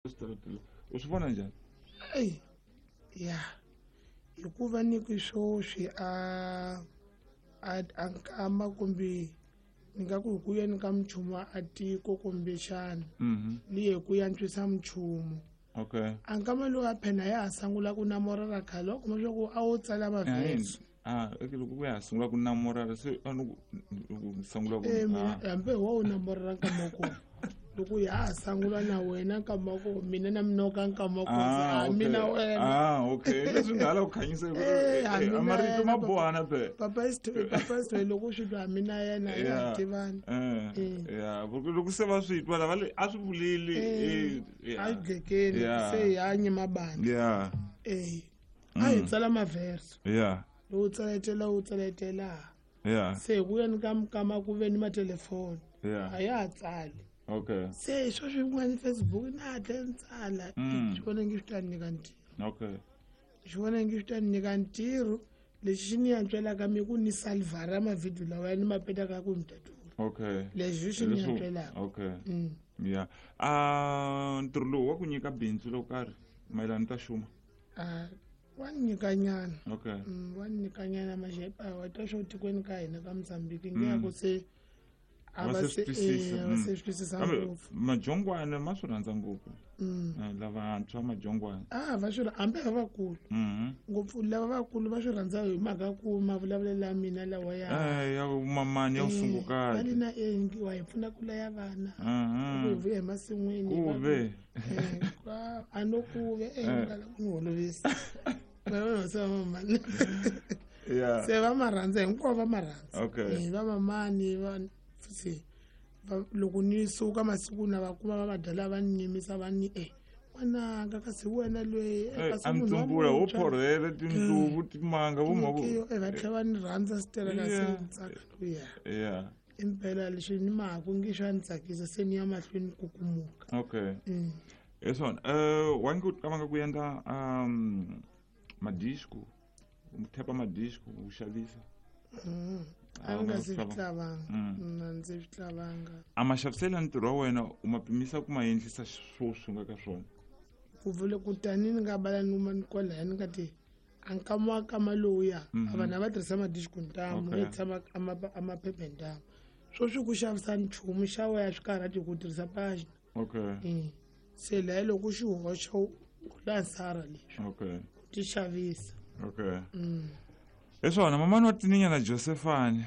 Switarateni u swi vona njhani? Eyi ya, hikuva ni ku swoswi a a a nkama kumbe ni nga ku hi ku yeni ka minchumu a tiko kumbexana liye ku yantswisa minchumu. A nkama lowu a phena ya ha sungula ku namorela khale, wa kuma swa ku a wo tsala mavhesi. Ah, eke loko ku ya ha sungula ku namorela se a ni ku sungula ku mina hambi wa wu namorela nkama wa kona, loko ya ha sungula na wena nkama wa kona, mina na minoka nkama wa kona, a mina wena. Ah, okay, leswi nga hala ku khanyisa a marito ma bohana pe. Papa papa Isithoyi, loko swi twa mina yena ya tivana. Ya, loko se va swi twa lava le a swi vuleli. A dlekeni se hi hanye mabandla. A hi tsala maverso. Lowu tsaletela, wu tsaletela. Se hi ku yeni ka mikama ku ve ni matelefoni. A ya ha tsali. Se swo swin'wana Facebook na hatla ni tsala. Swi vona ngi swi ta ni nyika ntirho. Swi vona ngi swi ta ni nyika ntirho. Lexi xi ni yantswelaka mi ku ni salvara mavhidiyo lawa ya ni ma petaka ku ni tatura. Leswi swi ni yantswelaka. Ya. Ntirho lowu wa ku nyika bindzu lo karhi mayelana ta xuma? Wa nyikanyana. Wa nyikanyana maxepa wa twa swo tikweni ka hina ka Mozambique nge ya ku se a va se se swi twisisa ngopfu. Majongwana ma swi rhandza ngopfu. Lavantshwa majongwana. Va swi hambi va vakulu. Ngopfu lava vakulu va swi rhandza hi mhaka ku mavulavulelo ya mina lawa ya ya mamani ya usungukati. Va na wa hi pfuna ku laya vana. Ku hi vuya emasin'wini. Ku ve. A no ku ve ngala ku ni holovisa. Mamani. Se va ma rhandza hinkwavo va ma rhandza. Va mamani va se loko ni suka masiku na va kuma va madala va ni yimisa va ni n'wananga kasi wena loyi kasi munhu wa mutsumbula wo phorhele tindluvu timanga vo mhako va tlhela va ni rhandza sitereka se ni tsaka luya. Impela leswi ni mahaku ngi swa ni tsakisa se ni ya mahlweni ku kumuka. Hi swona wa nge u qavanga ku endla madisco, u thepa madisco u xavisa? A ni nga se swi tlavanga. Na ndzi swi tlavanga. A maxaviselo ya ntirho wa wena u ma pimisa ku ma endlisa swo swi nga ka swona? Ku vule ku tani ni nga bala ni kwalaya ni nga ti a nkama wa kama lowuya a vanhu a va tirhisa madisco ntamu yo tshama a maphephe ntamu. Sweswi ku xavisa nchumu xa wena swi karhati ku tirhisa page. Se laha loko xi hoxa u lansara leswi. Ti xavisa. Hi swona mamani wa Tininyana Josephine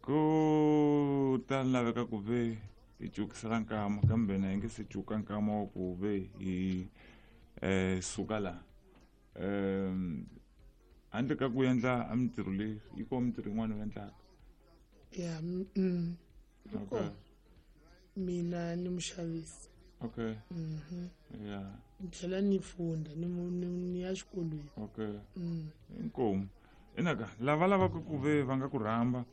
ku ta laveka ku ve hi cukisela nkama kambe na hi nge se cuka nkama wa ku ve hi suka laha. Handle ka ku endla a mintirho leyi yi kona mintirho yin'wana u endlaka? Ya, mina ni muxavisi. Ni tlhela ni funda ni ya xikolweni. Inkomu. Inaka lava lavaka ku ve va nga ku rhamba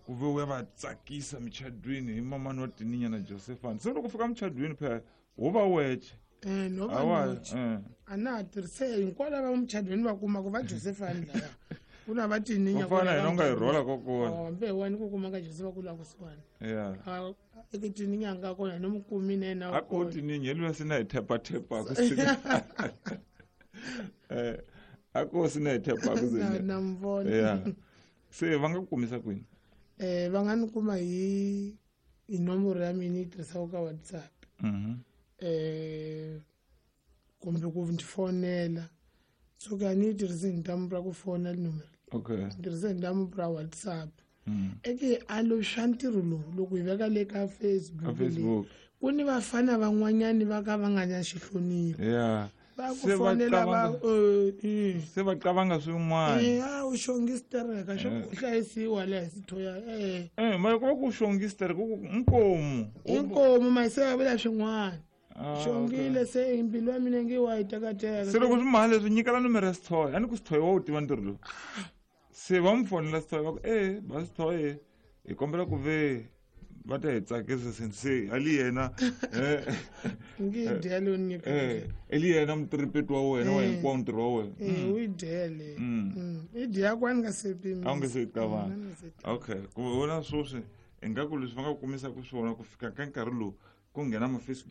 ku ve u ya va tsakisa muchadwini hi mamani wa Tininyana Josephine. Se loko fika muchadwini phela wo va weche. No va weche. A na ha tirhise hinkwavo lava muchadwini va kuma ku va Josephine laya. Ku na va Tininya. Va fana hina u nga hi rhola kokona. Hambi hi wena ku kuma ka Joseph ku la kusuhani. Eke Tininya nga kona ni mukumi na yena. A ko Tininya luya sina hi thepa thepa ku a ko sina hi thepa ku na mvona. Se va nga ku kumisa kwini? Va nga ni kuma hi nomboro ya mina yi tirhisaka ka WhatsApp. Kumbe ku ndzi fonela. So ka ni tirhise hi ntambu ra ku fona nomoro. Ni tirhise hi ntambu ra WhatsApp. Eke a lo swa ntirho lowu loko hi veka le ka Facebook. Ku ni vafana van'wanyani va ka va nga na xihlonipho. Va ku fonela va se va qavanga swin'wana. U xongistereka swa ku hlayisiwa laha sithoya. Mara ku va ku xongistereka ku inkomu. Inkomu mara se va vula swin'wana. Xongile se mbilu ya mina nge wa yi tekateka. Se loko swi mali leswi nyikela nomoro ya Sithoyi, a ni ku Sithoyi wa wu tiva ntirho lowu. Se va n'wi fonela Sithoyi va ku ba Sithoyi hi kombela ku ve va ta hi tsakisa se ali yena ngi dya leyo nyika. Ali yena mutiripeti wa wena wa hinkwawo ntirho wa wena. U yi dya leyo. I dya ku a ni nga se pimisa. A wu nge se qabanga. Ku vona sweswi ingaku leswi va nga ku kumisaka swona ku fika ka nkarhi lowu ku nghena ma Facebook.